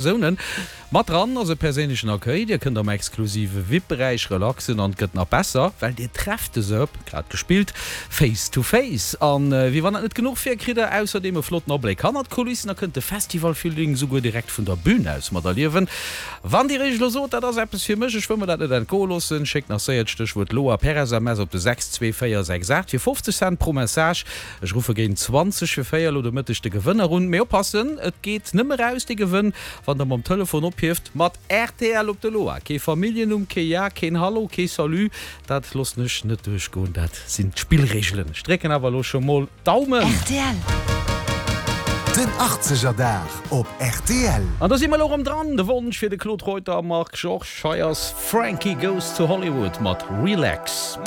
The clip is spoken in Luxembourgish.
Persounen. Mat dran ass e perséinlechen Accueil, dir kënnt am exklusive VIP-Beräich relaxen an et gëtt nach besser, well dir trefft de Sëb, grad gespillt, face to face. An wéi wann dat net genuch wier, kritt der ausserdeem e flotten Abléck hannert d'Kulissen a kënnt de Festival-Feeling souguer direkt vun der Bün aus materliewen. Wann dir iech elo sot, dat ass eppes fir mech, ech wëll mer dat net entgoe loossen, schéckt nach séier d'Stéchwuert LOA per SMS op de 62468 fir 50 Cent pro Message. Ech ruffe géint 20 fir 4 elo de Mëtteg de Gewënner un. Mee oppassen, et geet nëmme raus dee Gewënn, wann der mam Telefon ophieft mat rtl op de Loa. Kee Familljennumm, kee Ja, keen Hallo, kee Salut, dat loossen ech net duerchgoen. Dat sinn d'Spillreegelen. Ech drécken awer elo scho mol d'Daumen. Rtl. Den Achtzeger Dag op rtl. An do si mer elo erëm dran. De Wonsch fir de Claude Reuter a Marc Georges. Hei ass Frankie Goes to Hollywood mat Relax.